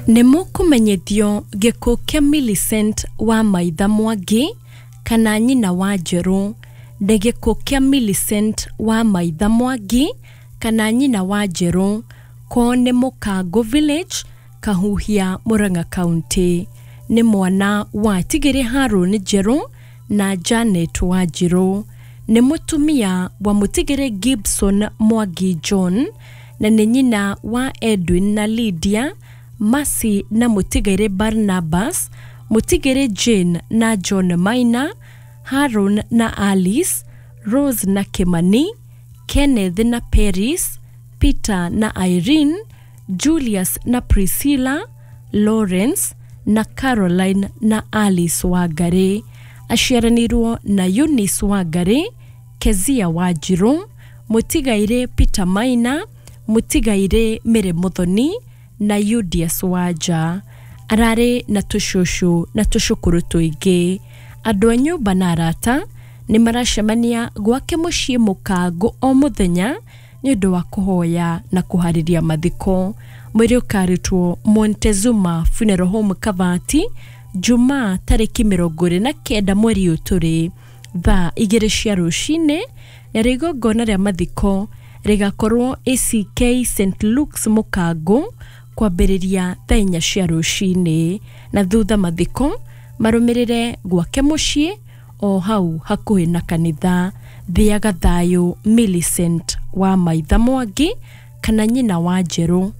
Nĩ mũkũmenyithio gĩkuũ kĩa Millicent wa Maitha Mwangi kana nyina wa Njerũ. Nĩ gĩkuũ kĩa Millicent wa Maitha Mwangi kana nyina wa Njerũ. Kwao nĩ Mũkangũ Village, Kahuhia, Murang'a County. Nĩ mwana wa Tigĩrĩ Harũni Njerũ na Janet Wanjirũ. Nĩ mũtumia wa Mũtigĩrĩ Gibson Mwangi John na nĩ nyina wa Edwin na Lydia, Mercy na Mũtigĩrĩ Barnabas, Mũtigĩrĩ Jane na John Maina, Haron na Alice, Rose na Kimani, Kenneth na Paris, Peter na Irene, Julius na Priscilla, Lawrence na Caroline na Alice Wangari. Aciaranĩirwo na Eunice Wangari, Kezia Wanjirũ, Mũtigairĩ Peter Maina, Mũtigairĩ Mary Muthoni na Yudias Wanja. Ararĩ na tũcũcũ na tũcũkũrũ tũingĩ. Andũ a nyũmba na arata nĩ maracemania gwake mũciĩ Mũkangũ o mũthenya nĩ ũndũ wa kũhoya na kũharĩria mathiko. Mwĩrĩ ũkarutwo Montezuma Funeral Home Kavati Jumaa tarĩki 29 mweri ũyũ tũrĩ thaa 2 cia rũcinĩ, narĩo igongona rĩa mathiko rĩgakorwo ACK St Luke's Mũkangũ kwambĩrĩria thaa 4 cia rũcinĩ, na thutha mathiko marũmĩrĩre gwake mũciĩ o hau hakuhĩ na kanitha. Thiaga thayũ Millicent wa Maitha Mwangi kana nyina wa Njerũ.